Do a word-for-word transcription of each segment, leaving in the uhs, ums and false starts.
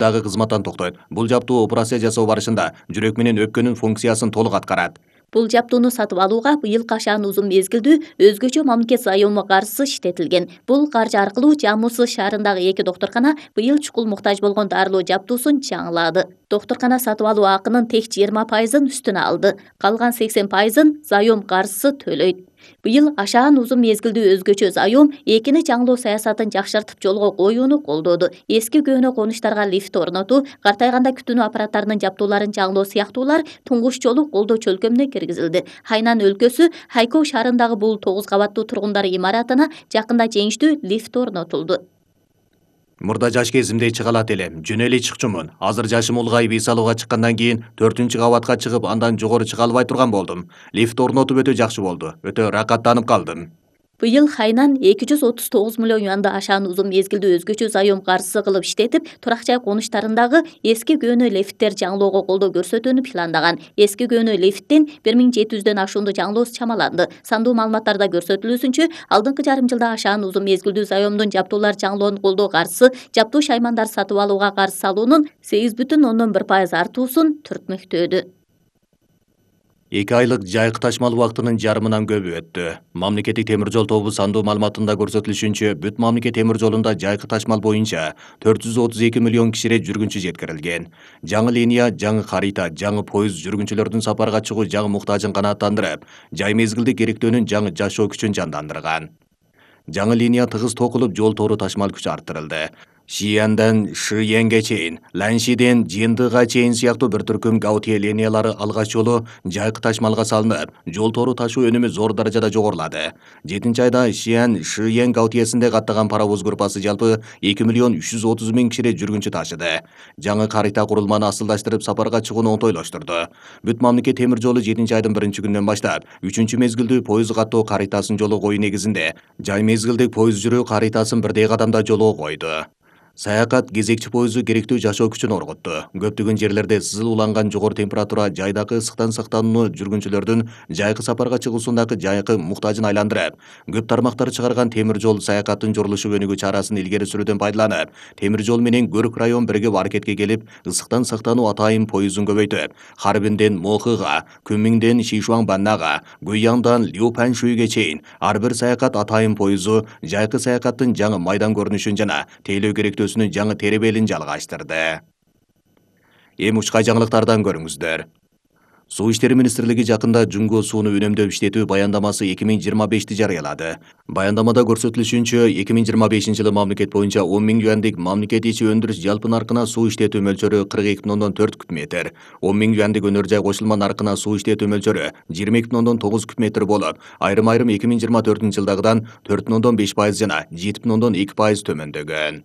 дагы кызматтан токтойт. Бул жаптуу операция жасоо барышында жүрөк менен өпкөнүн функциясын толук аткарат. Бул жаптууну сатып алууга быйыл кашаан узун мезгилдүү өзгөчө мамлекет заёмы каржысы иштетилген. Бул каржы аркылуу Жамбыл шаарындагы эки доктуркана быйыл чукул муктаж болгон дарылоо жаптуусун жаңылады. Доктуркана сатып алуу акынын тех жыйырма пайызын үстүнө алды. Калган сексен пайызын заём каржысы төлөйт. Быйыл ашаан узун мезгилдүү өзгөчө заём экини жаңылоо саясатын жакшыртып жолго коюуну колдоду. Эски көөнө конуштарга лифт орнотуу, картайганда күтүүнү аппараттарынын жаптууларын жаңылоо сыяктуулар туңгуч жолу колдоо чөлкөмүнө киргизилди. Хайнан өлкөсү Хайков шаарындагы бул тогуз кабаттуу тургундар имаратына жакында жеңиштүү лифт орнотулду. Мурда жаш кезимде чыгалат элем, жөн эле чыкчумун. Азыр жашым улгайып эс алууга чыккандан кийин төртүнчү кабатка чыгып, андан жогору чыга албай турган болдум. Лифт орнотуп өтө жакшы болду. Өтө ракаттанып калдым. Быйыл Хайнан эки жүз отуз тогуз миллион юанды ашаан узун мезгилдүү өзгөчө заём каржысы кылып иштетип, турак жай конуштарындагы эски көөнө лифттер жаңылоого колдоо көрсөтүүнү пландаган. Эски көөнө лифттин бир миң жети жүздөн ашуунду жаңылоосу чамаланды. Сандуу маалыматтарда көрсөтүлүүсүнчө, алдыңкы жарым жылда ашаан узун мезгилдүү заёмдун жаптуулар жаңылоонун колдоо каржысы жаптуу шаймандар сатып алууга каржы салуунун сегиз бүтүн ондон бир пайыз артуусун түртмөктөөдү. эки айлык жайкы ташмал убактынын жарымынан көбү өттү. Мамлекеттик темир жол тобу сандуу маалыматында көрсөтүлүшүнчө, бүт мамлекет темир жолунда жайкы ташмал боюнча төрт жүз отуз эки миллион кишире жүргүнчү жеткирилген. Жаңы линия, жаңы харита, жаңы поезд жүргүнчүлөрдүн сапарга чыгуу жаңы муктажын канааттандырып, жай мезгилде керектөөнүн жаңы жашоо күчүн жандандырган. Жаңы линия тыгыз токулуп, жол тору ташмал күчү арттырылды. Шияндан Шиенге чейин, Ланшиден Жиндыга чейин сыяктуу бир түркүм Гаутие линиялары алгач жолу жайкы ташмалга салынып, жол тору ташуу өнүмү зор даражада жогорулады. жетинчи айда Шиян Шиен Гаутиесинде каттаган паровоз группасы жалпы эки миллион үч жүз отуз миң кишире жүргүнчү ташыды. Жаңы карита курулманы асылдаштырып, сапарга чыгууну оңтойлоштурду. Бүт мамлекет темир жолу жетинчи айдын биринчи күнүнөн баштап үчүнчү мезгилдүү поезд каттоо каритасын жолу коюу негизинде жай мезгилдик поезд жүрүү каритасын бирдей кадамда жолго койду. Саякат кезекчи поезду керектүү жашоо күчүн орготту. Көптөгөн жерлерде сызыл уланган жогору температура жайдагы ысыктан сактанууну жүргүнчүлөрдүн жайкы сапарга чыгуусундагы жайкы муктажын айландырып, көп тармактар чыгарган темир жол саякаттын журулушу өнүгүү чарасын илгери сүрүүдөн пайдаланып, темир жол менен Көрүк район биригип аракетке келип, ысыктан сактануу атайын поездун көбөйтүп, Харбинден Мохыга, Күмиңден Шишуаңбаннага, Гуйяндан Лиупаншуйге чейин ар бир саякат атайын поезду жайкы саякаттын жаңы майдан көрүнүшүн жана тейлөө керектөөсүн жаңы теребелин жалгаштырды. Эми учкай жаңылыктардан көрүңүздөр. Суу иштери министрлиги жакында Жунго сууну үнөмдөп иштетүү баяндамасы эки миң жыйырма бешти жарыялады. Баяндамада көрсөтүлүшүнчө, эки миң жыйырма бешинчи жылы мамлекет боюнча он миң юандык мамлекет ичи өндүрүш жалпы наркына суу иштетүү мөлчөрү кырк эки бүтүн ондон төрт куб метр, он миң юандык өнөр жай кошулма наркына суу иштетүү мөлчөрү жыйырма эки бүтүн ондон тогуз куб метр болуп, айрым-айрым эки миң жыйырма төртүнчү жылдагыдан төрт бүтүн ондон беш пайыз жана жети бүтүн ондон эки пайыз төмөндөгөн.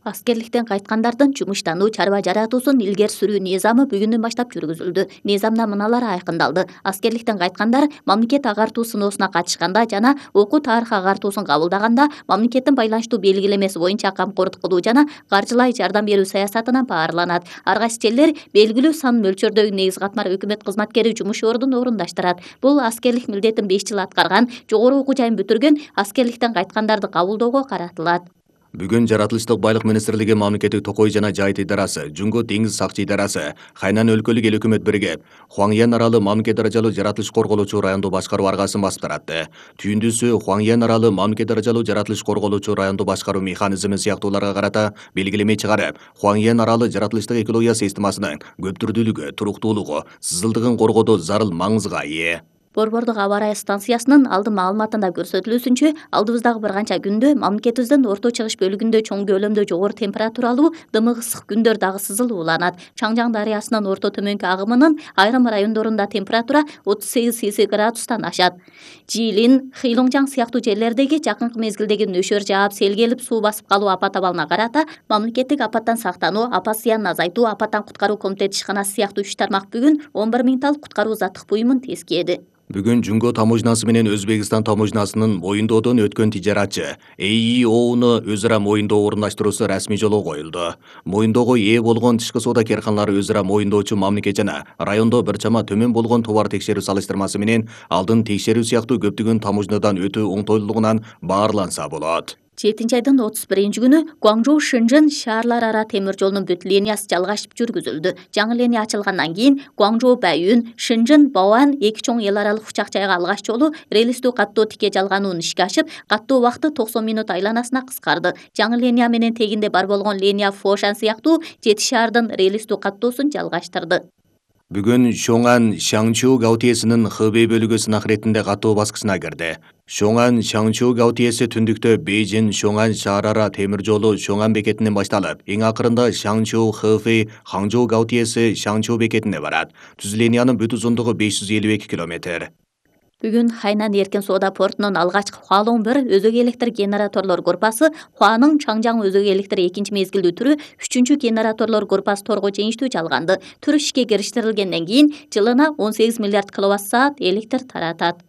Аскерликтен кайткандардын жумуштануу чарба жаратуусун илгери сүрүү низамы бүгүндөн баштап жүргүзүлдү. Низамда мыналар айкындалды. Аскерликтен кайткандар мамлекет агартуу сыноосуна катышканда жана окуу тарых агартуусун кабылдаганда мамлекеттин байланыштуу белгилемеси боюнча камкордук кылуу жана каржылай жардам берүү саясатынан баарланат. Ар кайсы жерлер белгилүү сан мөлчөрдөгү негиз катмар өкмөт кызматкери жумуш ордун орундаштырат. Бул аскерлик милдетин беш жыл аткарган, жогору окуу жайын бүтүргөн, аскерликтен кайткандарды кабылдоого каратылат. Бүгүн Жаратылыштык байлык министрлиги мамлекеттик токой жана жайыт идарасы, Жунго деңиз сакчы идарасы, Хайнан өлкөлүк эл өкмөт биригип, Хуаңьян аралы мамлекет даражалуу жаратылыш корголоочу райондуу башкаруу аргасын басып таратты. Түйүндүсү Хуаңьян аралы мамлекет даражалуу жаратылыш корголоочу райондуу башкаруу механизми сыяктууларга карата белгилеме чыгарып, Хуаңьян аралы жаратылыштык экология системасынын көп түрдүүлүгү, туруктуулугу, сызылдыгын коргоодо зарыл маңызга ээ. Борбордук аба ырайы станциясынын алдын маалыматында көрсөтүлүүсүнчө, алдыбыздагы бир канча күндө мамлекетибиздин орто чыгыш бөлүгүндө чоң көлөмдө жогору температуралуу, дымык ысык күндөр дагы сызылып уланат. Чаңжаң дарыясынын орто төмөнкү агымынын айрым райондорунда температура отуз сегиз Цельсий градустан ашат. Жиилин, Хыйлоңжаң сыяктуу жерлердеги жакынкы мезгилдеги нөшөр жаап, сел келип суу басып калуу апат абалына карата мамлекеттик апаттан сактануу, апат зыянын азайтуу, апаттан куткаруу комитети ишканасы сыяктуу үч тармак бүгүн он бир миң талк куткаруу заттык буюмун тескеди. Бүгүн Жунго таможнасы менен Өзбекстан таможнасынын моюндоодон өткөн тижаратчы Э И Оуну өз ара моюндоо орундаштыруусу расмий жолго коюлду. Моюндоого ээ болгон тышкы соода карканалары өз ара моюндоочу мамлекет жана райондо бир чама төмөн болгон товар текшерүү салыштырмасы менен алдын текшерүү сыяктуу көптөгөн таможнядан өтүү оңтойлуулугунан баарланса болот. жетинчи айдын отуз биринчи күнү Гуаңжоу Шэньчжэн шаарлар ара темир жолунун бүт линиясы жалгашып жүргүзүлдү. Жаңы линия ачылгандан кийин Гуаңжоу Баиюн, Шэньчжэн Баоан эки чоң эл аралык учак жайга алгач жолу релистүү каттоо тике жалгануун ишке ашып, каттоо убакыты токсон минут айланасына кыскарды. Жаңы линия менен тегинде бар болгон линия Фошан сыяктуу жети шаардын релистүү каттоосун жалгаштырды. Бүгүн Шоңан Шаңчу Гаутиесинин Хэбэй бөлүгү сынак иретинде каттоо баскычына кирди. Шоңан Шаңчу Гаутиеси түндүктө Бейжин Шоңан шаар ара темир жолу Шоңан бекетинен башталып, эң акырында Шаңчу Хэфэй Хаңчжоу Гаутиеси Шаңчу бекетине барат. Түз линиянын бүт узундугу беш жүз элүү эки километр. Бүгүн Хайнан эркин соода портунун алгачкы Хуалоң бир өзөк электр генераторлор группасы, Хуанын Чаңжаң өзөк электр экинчи мезгилдүү түрү үчүнчү генераторлор группасы торго жеңиштүү жалганды. Түр ишке кириштирилгенден кийин жылына он сегиз миллиард киловатт саат электр таратат.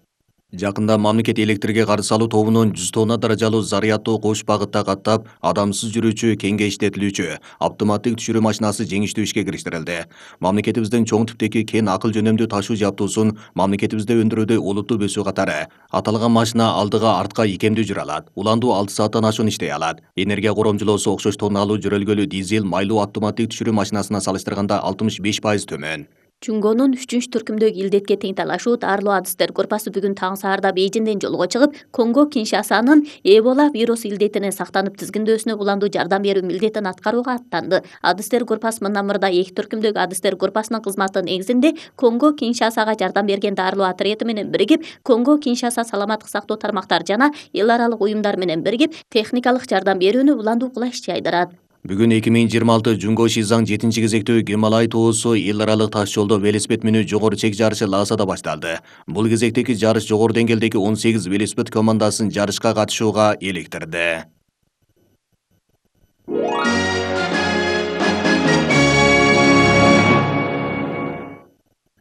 Жакында мамлекет электрге каршы алуу тобунун жүз тонна даражалуу зарядтуу кош багытта каттап, адамсыз жүрүүчү, кеңге иштетилүүчү автоматтык түшүрүү машинасы жеңиштүү ишке кириштирилди. Мамлекетибиздин чоң типтеги кен акыл жөнөмдүү ташуу жабдуусун мамлекетибизде өндүрүүдө олуттуу өсүү катары аталган машина алдыга артка ийкемдүү жүрө алат. Уландуу алты сааттан ашуун иштей алат. Энергия коромчулоосу окшош тонналуу жөрөлгөлүү дизель майлуу автоматтык түшүрүү машинасына салыштырганда алтымыш беш пайыз төмөн. Чуңгонун үчүнчү түркүмдөгү илдетке тең талашуу даарылоо адистер группасы бүгүн таң саарда Бейжиңден жолго чыгып, Конго Киншасанын Эбола вирус илдетинен сактанып тизгиндөөсүнө уландуу жардам берүү милдетин аткарууга аттанды. Адистер группасы мындан мурда эки түркүмдөгү адистер группасынын кызматынын негизинде Конго Киншасага жардам берген даарылоо отряды менен биригип, Конго Киншаса саламаттык сактоо тармактары жана эл аралык уюмдар менен биригип, техникалык жардам берүүнү уландуу кыла иш жайдырат. Бүгүн эки миң жыйырма алты Жунго Шизаң жетинчи кезектүү Гималай тоосу эл аралык таш жолдо велосипед минүү жогору чек жарышы Лаасада башталды. Бул кезектеги жарыш жогору деңгээлдеги он сегиз велосипед командасын жарышка катышууга эликтирди.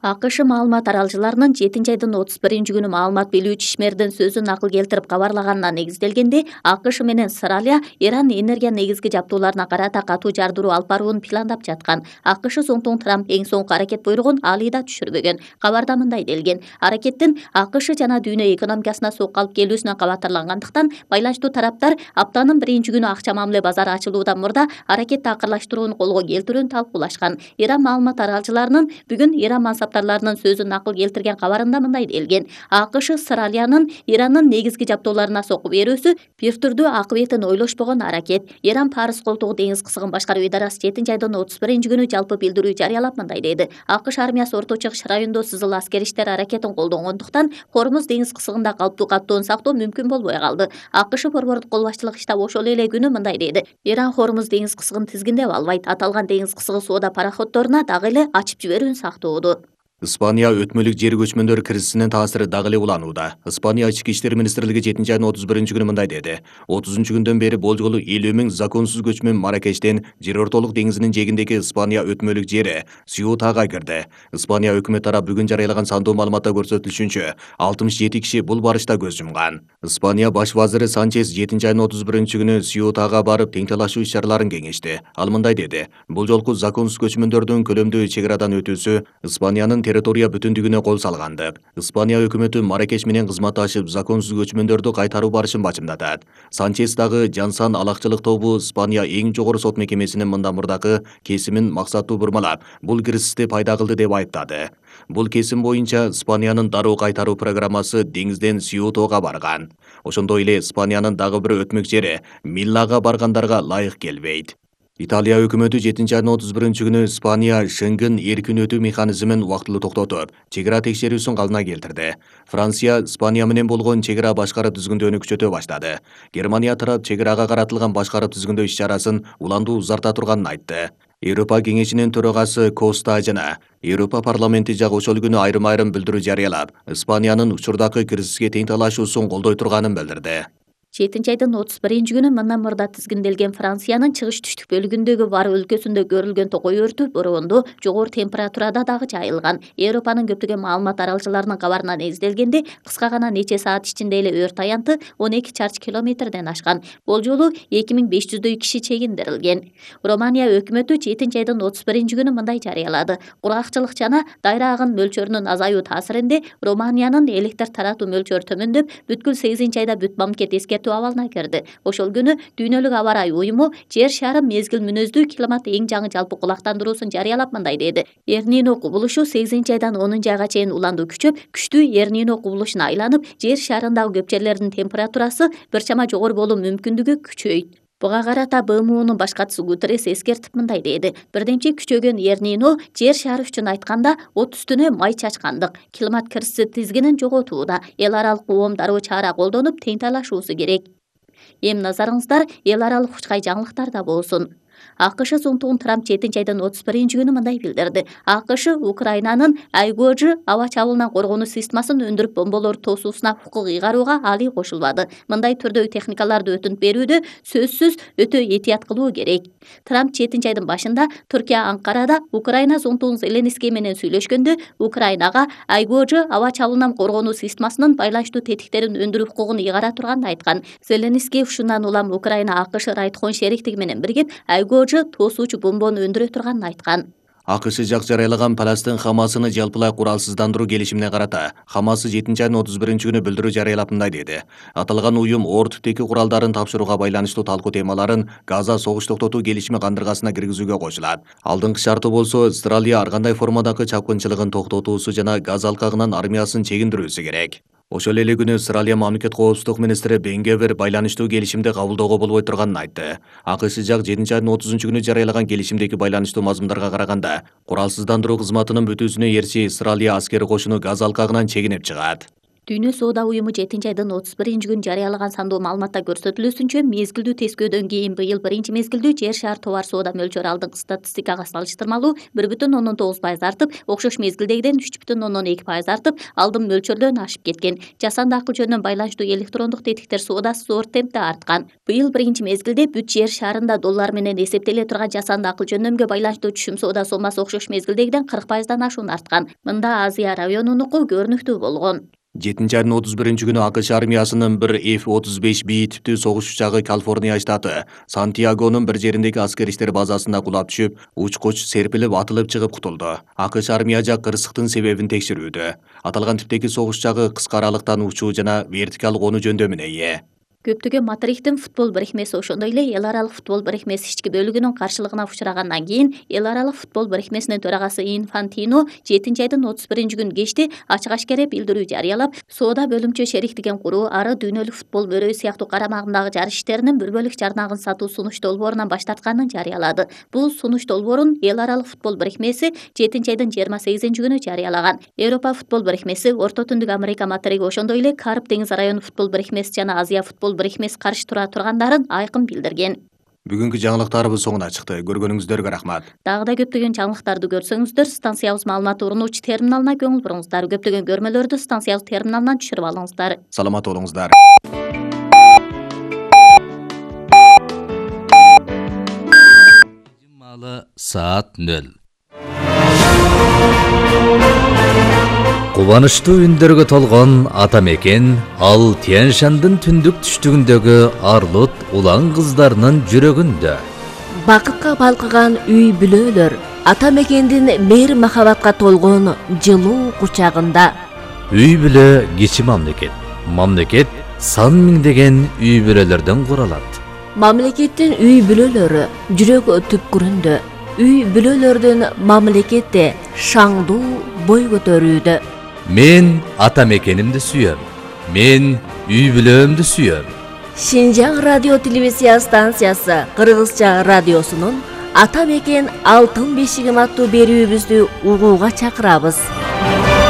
АКШ маалымат аралчыларынын жетинчи айдын отуз биринчи күнү маалымат билүүчү ишмердин сөзүн накыл келтирип кабарлаганына негизделгенде, АКШ менен Австралия Иран энергия негизги жабдууларына карата катуу жардыруу алып барууну пландап жаткан. АКШ соңтуң Трамп эң соңку аракет буйругун али да түшүрбөгөн. Кабарда мындай делген: аракеттин АКШ жана дүйнө экономикасына сокку алып келүүсүнө кабатырлангандыктан, байланыштуу тараптар аптанын биринчи күнү акча мамиле базары ачылуудан мурда аракетти акырлаштырууну колго келтирүүнү талкуулашкан. Иран маалымат аралчыларынын бүгүн Иран мансаптарларынын сөзүн накыл келтирген кабарында мындай делген: АКШ Австралиянын Ирандын негизги жабдууларына сокку берүүсү бир түрдүү акыбетин ойлошпогон аракет. Иран Парыз колтугу деңиз кысыгын башкаруу идарасы жетинчи айдын отуз биринчи күнү жалпы билдирүү жарыялап мындай деди: АКШ армиясы Орто Чыгыш районунда сызыл аскер иштер аракетин колдонгондуктан Хормуз деңиз кысыгында калыптуу каттоону сактоо мүмкүн болбой калды. АКШ борбордук кол башчылык штабы ошол эле күнү мындай деди: Иран Хормуз деңиз кысыгын тизгиндеп албайт. Аталган деңиз кысыгы соода пароходдоруна дагы эле ачып жиберүүнү сактоодо. Испания өтмөлүк жер көчмөндөр кризисинин таасири дагы эле уланууда. Испания ички иштер министрлиги жетинчи айдын отуз биринчи күнү мындай деди: отузунчу күндөн бери болжолу элүү миң законсуз көчмөн Маракештен Жер ортолук деңизинин жээгиндеги Испания өтмөлүк жери Сьютага кирди. Испания өкмөт тарап бүгүн жарыялаган сандуу маалыматта көрсөтүлүшүнчө, алтымыш жети киши бул барышта көз жумган. Испания баш вазири Санчес жетинчи айдын отуз биринчи күнү Сьютага барып тең талашуу иш-чараларын кеңешти. Ал мындай деди: бул жолку законсуз көчмөндөрдүн көлөмдүү чек арадан өтүүсү Испаниянын территория бүтүндүгүнө кол салганды. Испания өкмөтү Маракеш менен кызматташып законсуз көчмөндөрдү кайтаруу барышын бачымдатат. Санчес дагы Жансан алакчылык тобу Испания эң жогору сот мекемесинин мындан мурдакы кесимин максаттуу бурмалап, бул кризисти пайда кылды деп айыптады. Бул кесим боюнча Испаниянын дароо кайтаруу программасы деңизден Сьютога барган. Ошондой эле Испаниянын дагы бир өтмөк жери Миллага баргандарга ылайык келбейт. Италия өкмөтү жетинчи айдын отуз биринчи күнү Испания Шенген эркин өтүү механизмин убактылуу токтотуп, чек ара текшерүүсүн калына келтирди. Франция Испания менен болгон чек ара башкарып түзгүндөөнү күчөтө баштады. Германия тарап чек арага каратылган башкарып түзгүндөө иш-чарасын уландуу узарта турганын айтты. Европа кеңешинин төрагасы Коста жана Европа парламенти жагы ошол күнү айрым-айрым билдирүү жарыялап, Испаниянын учурдагы кризиске тең талашуусун колдой турганын билдирди. жетинчи айдын отуз биринчи күнү мындан мурда тизгинделген Франциянын чыгыш түштүк бөлүгүндөгү Вар өлкөсүндө көрүлгөн токой өртү бороондо жогору температурада дагы жайылган. Европанын көптөгөн маалымат аралчыларынын кабарына негизделгенде, кыска гана нече саат ичинде эле өрт аянты он эки чарчы километрден ашкан. Бул жолу эки миң беш жүздөй киши чегиндирилген. Романия өкмөтү жетинчи айдын отуз биринчи күнү мындай жарыялады: кургакчылык жана дайра агын мөлчөрүнүн азаюу таасиринде Романиянын электр таратуу мөлчөрү төмөндөп, бүткүл сегизинчи айда бүт мамлекет эскертүү өлчөтүү абалына кирди. Ошол күнү Дүйнөлүк аба ырайы уюму жер шары мезгил мүнөздүү климат эң жаңы жалпы кулактандыруусун жарыялап мындай деди: Эр-Нино кубулушу сегизинчи айдан онунчу айга чейин уланду күчөп, күчтүү Эр-Нино кубулушуна айланып, жер шарындагы көп жерлердин температурасы бир чама жогору болуу мүмкүндүгү күчөйт. Буга карата Б М Унун башкачысы Гутеррес эскертип мындай деди: Бирдемчи күчөгөн Эр-Нино жер шары үчүн айтканда от үстүнө май чачкандык, климат кырсыгы тизгинин жоготууда. Эл аралык коом дароо чара колдонуп тең талашуусу керек. Эми назарыңыздар эл аралык учкай жаңылыктарда болсун. А К Ш зонтугун Трамп жетинчи айдын отуз биринчи күнү мындай билдирди: А К Ш Украинанын Айгожи аба чабуулунан коргонуу системасын өндүрүп бомболорду тосуусуна укук ыйгарууга али кошулбады. Мындай түрдөгү техникаларды өтүнүп берүүдө сөзсүз өтө этият кылуу керек. Трамп жетинчи айдын башында Түркия Анкарада Украина зонтугун Зеленский менен сүйлөшкөндө Украинага Айгожи аба чабуулунан коргонуу системасынын байланыштуу тетиктерин өндүрүү укугун ыйгара турганын айткан. Зеленский ушундан улам Украина А К Ш Райткон шериктиги менен биригип Айгожи тосуучу бомбону өндүрө турганын айткан. А К Ш жак жарыялаган Палестин Хамасыны жалпылай куралсыздандыруу келишимине карата Хамасы жетинчи айдын отуз биринчи күнү билдирүү жарыялап мындай деди: Аталган уюм оор типтеги куралдарын тапшырууга байланыштуу талкуу темаларын Газа согуш токтотуу келишими кандыргасына киргизүүгө кошулат. Алдыңкы шарты болсо Израиль ар кандай формадагы чапкынчылыгын токтотуусу жана Газа алкагынан армиясын чегиндирүүсү керек. Ошол эле күнү Израиль мамлекет коопсуздук министри Бен Гвир байланыштуу келишимди кабылдоого болбой турганын айтты. А К Ш жак жетинчи айдын отузунчу күнү жарыялаган келишимдеги байланыштуу мазмундарга караганда куралсыздандыруу кызматынын бүтүүсүнө эрчи Израиль аскери кошуну Газа алкагынан чегинип чыгат. Дүйнө соода уюму жетинчи айдын отуз биринчи күнү жарыялаган сандуу маалыматта көрсөтүлүүсүнчө мезгилдүү тескөөдөн кийин быйыл биринчи мезгилдүү жер шаар товар соода мөлчөрү алдыңкы статистикага салыштырмалуу бир бүтүн ондон тогуз пайыз артып, окшош мезгилдегиден үч бүтүн ондон эки пайыз артып, алдын мөлчөрдөн ашып кеткен. Жасанды акыл жөнүнөн байланыштуу электрондук тетиктер соодасы зор темпте арткан. Быйыл биринчи мезгилде бүт жер шаарында доллар менен эсептеле турган жасанды акыл жөнөмгө байланыштуу түшүм соода сомасы окшош мезгилдегиден кырк пайыздан ашуун арткан. Мында Азия районунуку көрүнүктүү болгон. жетинчи айдын отуз биринчи күнү А К Ш армиясынын бир Ф отуз беш Б типтүү согуш учагы Калифорния штаты Сантьягонун бир жериндеги аскер иштер базасында кулап түшүп, уч-куч серпилип атылып чыгып кутулду. А К Ш армия жак кырсыктын себебин текшерүүдө. Аталган типтеги согуш учагы кыска аралыктан учуу жана вертикалдык конуу жөндөмүнө ээ. Көптөгөн Мадридтин футбол бирикмеси ошондой эле эл аралык футбол бирикмеси ички бөлүгүнүн каршылыгына учурагандан кийин эл аралык футбол бирикмесинин төрагасы Инфантино жетинчи айдын отуз биринчи күнү кечти ачык ашкере билдирүү жарыялап, соода бөлүмчө шериктигин куруу ары дүйнөлүк футбол мөрөй сыяктуу карамагындагы жарыш иштеринин бир бөлүк жарнагын сатуу сунуш долбоорунан баш тартканын жарыялады. Бул сунуш долбоорун эл аралык футбол бирикмеси жетинчи айдын жыйырма сегизинчи күнү жарыялаган. Европа футбол бирикмеси, Орто Түндүк Америка материги ошондой эле Карып деңиз району футбол бирикмеси жана Азия футбол бирикмеси каршы тура тургандарын айкын билдирген. Бүгүнкү жаңылыктарыбыз соңуна чыкты. Көргөнүңүздөргө рахмат. Дагы да көптөгөн жаңылыктарды көрсөңүздөр, станциябыз маалымат урунуучу терминалына көңүл буруңуздар. Көптөгөн көрмөлөрдү станциябыз терминалынан түшүрүп алыңыздар. Саламат болуңуздар. Саат нөл. Кубанычтуу үндөргө толгон ата мекен ал Тянь-Шандын түндүк түштүгүндөгү арлут улан кыздарынын жүрөгүндө. Бакытка балкыган үй бүлөлөр ата мекендин мейир махабатка толгон жылуу кучагында. Үй бүлө кичи мамлекет. Мамлекет сан миңдеген үй бүлөлөрдөн куралат. Мамлекеттин үй бүлөлөрү жүрөк түпкүрүндө. Үй бүлөлөрдүн мамлекетте шаңдуу бой көтөрүүдө. Мен ата мекенимди сүйөм. Мен үй бүлөмдү сүйөм. Шинжаң радио телевизия станциясы Кыргызча радиосунун ата мекен алтын бешигим аттуу берүүбүздү угууга чакырабыз.